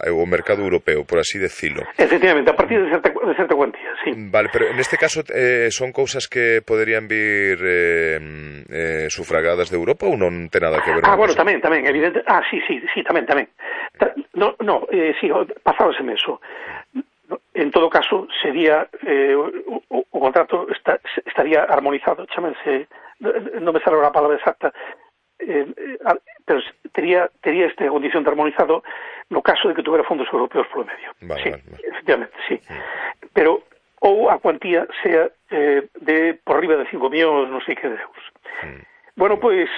o mercado europeo, por así decirlo. Efectivamente, a partir de certa cuantía, sí. Vale, pero en este caso son cousas que poderían vir sufragadas de Europa ou non ten nada que ver? Bueno, tamén, evidente. Sí, tamén. Sí, pasábaseme eso. En todo caso, sería o contrato estaría armonizado, chámense, non me sale a palabra exacta, pero tería esta condición de armonizado no caso de que tuviera fondos europeos polo medio. Vale. Efectivamente, sí. Pero ou a cuantía sea de por riba de 5 millóns, non sei que de euros. Bueno, pois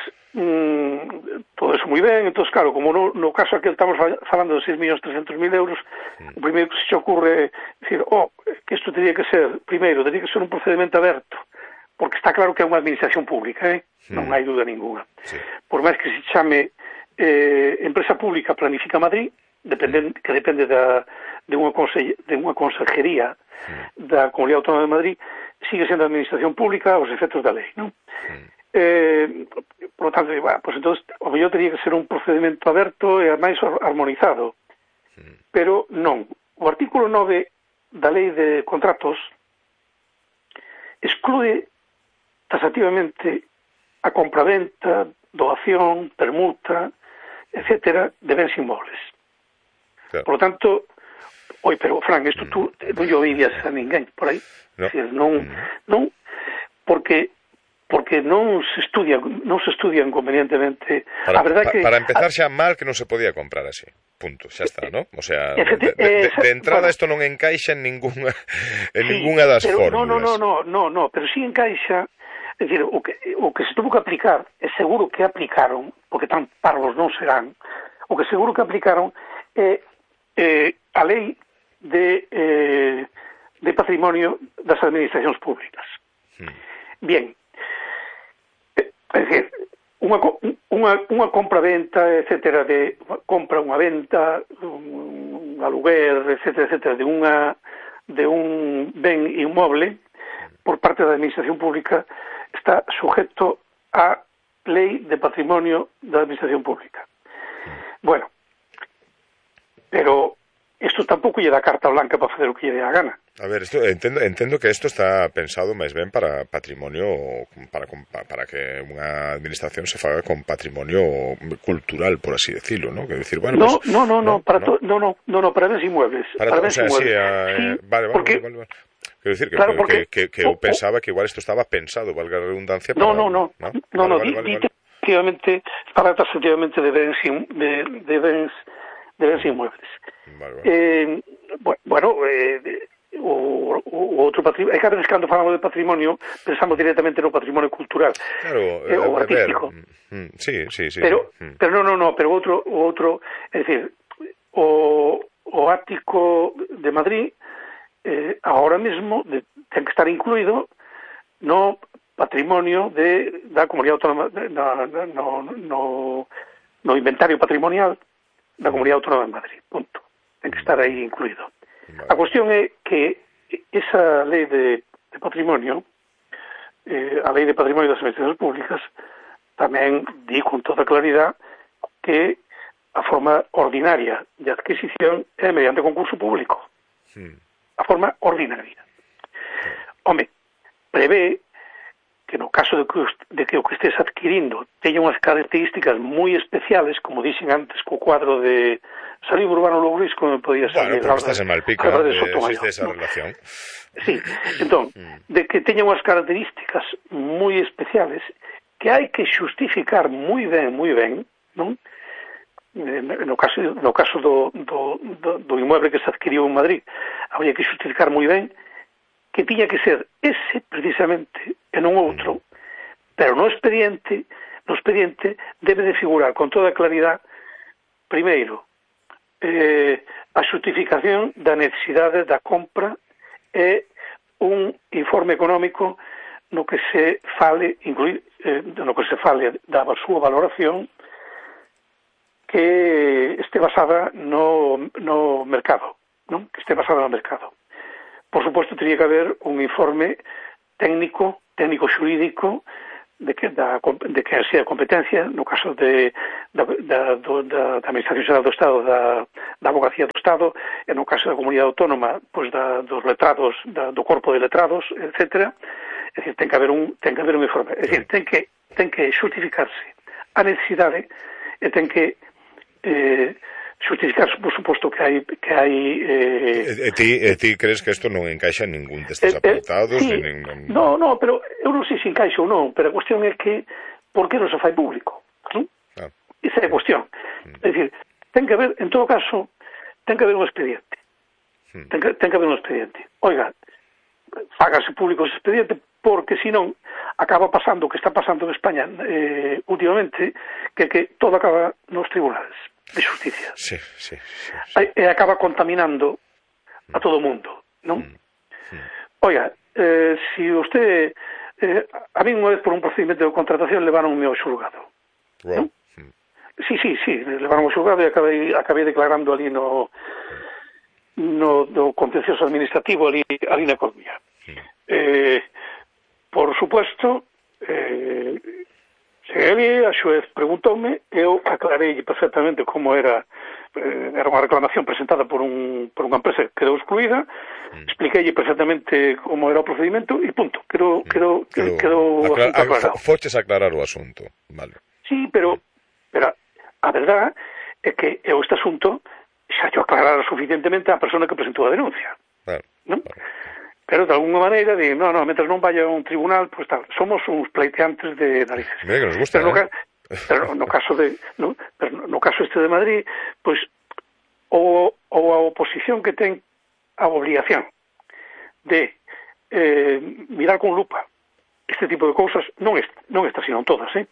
todo eso moi ben. Entón, claro, como no caso aquel estamos falando de 6.300.000 euros, o primeiro que se ocurre decir, que isto teria que ser, primeiro, teria que ser un procedimento aberto, porque está claro que é unha administración pública, non hai dúda ninguna. Sí. Por máis que se chame empresa pública Planifica Madrid, que depende de unha consejería da Comunidade Autónoma de Madrid, sigue sendo administración pública aos efectos da lei, non? Por lo tanto, pues entonces o mellor teria que ser un procedimento aberto e máis armonizado, pero non. O artículo 9 da lei de contratos exclúe taxativamente a compraventa, doación, permuta, etcétera, de bens inmobles. Claro. Por lo tanto, pero Fran, isto tú non lle oías a ninguén por aí. No. Decir, non, porque non se estudian convenientemente. Para empezar xa mal que non se podía comprar así. Punto, xa está, ¿no? O sea, de entrada isto non encaixa en ningunha das fórmulas. No, pero sí encaixa. É dicir, o que se tuvo que aplicar, é seguro que aplicaron, porque tan parvos non serán, o que seguro que aplicaron é a lei de patrimonio das administracións públicas. Bien, é dicir, unha compra-venta, etcétera, de compra, unha venta, un aluguer, etcétera, de un ben inmoble por parte da administración pública está sujeto á lei de patrimonio da administración pública. Bueno, pero isto tampouco lle dá carta blanca para facer o que lle dé a gana. A ver, entendo que isto está pensado máis ben para patrimonio, para que unha administración se faga con patrimonio cultural, por así decirlo, ¿no? Que decir, bueno, para bens inmuebles. Para bens inmuebles. Vale. Quero dicir que eu pensaba que igual isto estaba pensado, valga a redundancia. Efectivamente, para taxativamente de bens inmuebles. Vale. O outro patrimonio, é que a veces cando falamos de patrimonio pensamos directamente no patrimonio cultural, o artístico. Sí. Pero o outro, é dicir, o ático de Madrid ahora mesmo ten que estar incluído no patrimonio da Comunidade Autónoma, no inventario patrimonial da Comunidade Autónoma de Madrid, punto. Ten que estar aí incluído. Vale. A cuestión é que esa lei de patrimonio, a lei de patrimonio das administracións públicas, tamén di con toda claridade que a forma ordinaria de adquisición é mediante concurso público. A forma ordinaria. Home, prevé que no caso de que o que estés adquirindo teña unhas características moi especiales, como dixen antes co cuadro de Salí Urbano Louris, como podía salir. Bueno, porque estás en Malpica, existe esa relación. Sí, entón, de que teña unhas características moi especiales que hai que xustificar moi ben, non? No caso do inmueble que se adquiriu en Madrid, habría que xustificar moi ben que tiña que ser ese precisamente e non outro, pero no expediente debe de figurar con toda claridade, primeiro, a xustificación da necesidade da compra e un informe económico no que se fale da súa valoración que este basada no mercado, non? Que este basada no mercado. Por suposto, teria que haber un informe técnico xurídico de que exercía a competencia, no caso da Administración Xeral do Estado, da Abogacía do Estado, e no caso da Comunidade Autónoma, pois dos letrados, do corpo de letrados, etc. É dicir, ten que haber un informe. É dicir, ten que xustificarse a necesidade e ten que xustificarse, por suposto, que hai ti crees que isto non encaixa en ningún destes apartados? Sí. No, pero eu non sei se encaixa ou non, pero a cuestión é que por que non se fai público? ¿No? Esa é a cuestión. É dicir, ten que haber, en todo caso, ten que haber un expediente. Ten que haber un expediente. Oiga, fágase público ese expediente, porque senón acaba pasando o que está pasando en España últimamente, que todo acaba nos tribunales de justicia. Sí. E acaba contaminando a todo o mundo, non? Oiga, si usted... a mí unha vez por un procedimento de contratación levaronme ao xulgado. Wow. Sí, levaron ao xulgado e acabei declarando ali no contencioso administrativo ali na Coruña. Por supuesto, cheguei ali, a xuez preguntoume, eu aclarei perfectamente como era unha reclamación presentada por unha empresa que quedou excluída, expliquei perfectamente como era o procedimento e punto, quedou o asunto aclarado. Foches aclarar o asunto, vale. Sí, pero a verdade é que este asunto xa yo aclarara suficientemente a persona que presentou a denuncia. Claro. ¿No? Pero de alguna maneira mientras non vaya a un tribunal, pues tal, somos uns pleiteantes de narices. Mira que nos gusta, pero no caso este de Madrid, pues ou a oposición que ten a obligación de mirar con lupa este tipo de cousas, non está sino todas, ten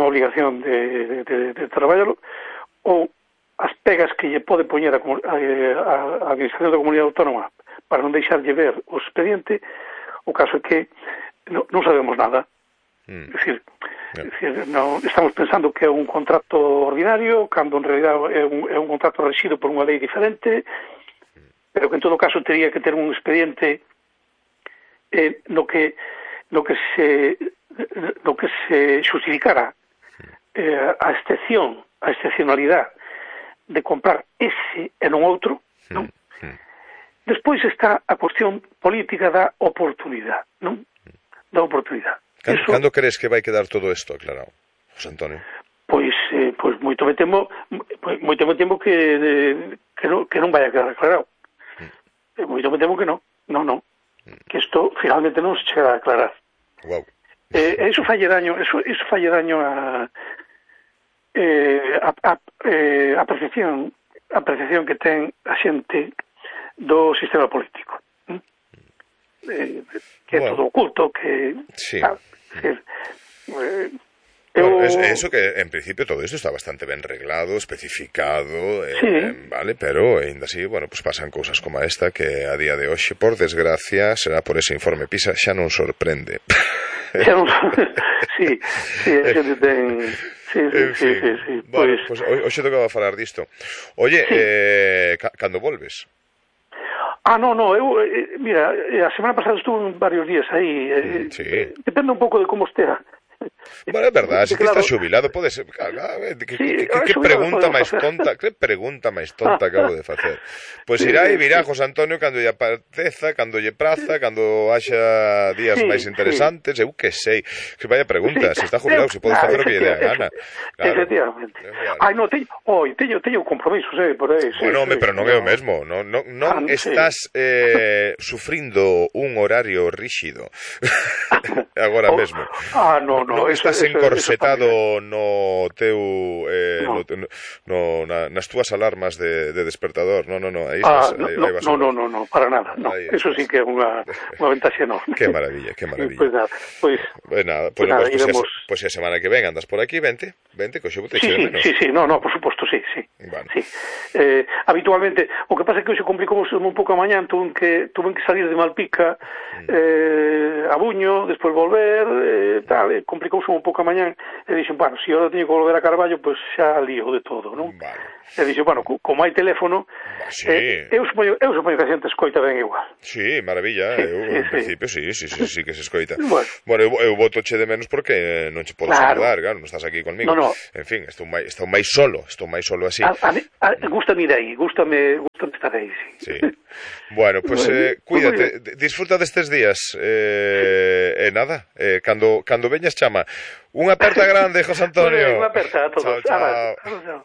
a obligación de traballarlo, ou as pegas que lle pode poñer a Administración da Comunidade Autónoma para non deixarlle ver o expediente. O caso é que non sabemos nada. É dicir, estamos pensando que é un contrato ordinario, cando en realidad é un contrato rexido por unha lei diferente, pero que en todo caso teria que ter un expediente no que se justificara a excepcionalidade de comprar ese e non outro, non? Despois está a cuestión política da oportunidade, non? Da oportunidade. Cando crees que vai quedar todo isto aclarado, José Antonio? Pois moito me temo que non vai a quedar aclarado. Moito me temo que non. Que isto finalmente non se chega a aclarar. Wow. Eso falle daño a percepción que ten a xente do sistema político, que é todo oculto, que sí. Eso que en principio todo isto está bastante ben reglado, especificado, vale, pero ainda así, pues pasan cousas como esta que a día de hoxe, por desgracia, será por ese informe PISA, xa non sorprende. Sí, a xente ten... Sí. Bueno, pues hoxe tocaba falar disto. Oye, cando volves? No, mira, a semana pasada estuve varios días aí. Depende un pouco de como estea. Bueno, é verdade, se que estás xubilado pode ser... Que pregunta máis tonta, que pregunta máis tonta acabo de facer. Pois irá e virá José Antonio cando lle apeteza, cando lle praza, cando haxa días máis interesantes, eu que sei. Que vaya pregunta, se está jubilado, se pode facer o que lle dé a gana. Efectivamente. Teño compromisos, por aí. Bueno, pero non é o mesmo. Non estás sufrindo un horario rígido agora mesmo. Non estás encorsetado no teu nas túas alarmas de despertador. No, aí vas. No, para nada. Eso sí que é unha ventaxa enorme. Que maravilla. Pois nada, pois a semana que ven andas por aquí, vente, que hoxe te eche de menos. Sí, no, por suposto, sí. Habitualmente, o que pasa é que hoxe complicou un pouco a mañán, tuve que salir de Malpica a Buño, despois volver, complicouse un pouco a mañán, e dixen, se eu teño que volver a Carballo, pois xa lío de todo, non? Vale. E dixen, como hai teléfono, Sí. Eu supoño que a xente escoita ben igual. Sí, maravilla, en principio sí que se escoita. Bueno, eu votoche de menos porque non che podo saludar, claro, non estás aquí conmigo. No. En fin, estou máis solo así. Gústame de aí, gústame estar aí, sí. Bueno, pues cuídate, disfruta destes días, nada, cando veñas chama. Unha aperta grande, José Antonio. Unha aperta a todos. Chao. Chao.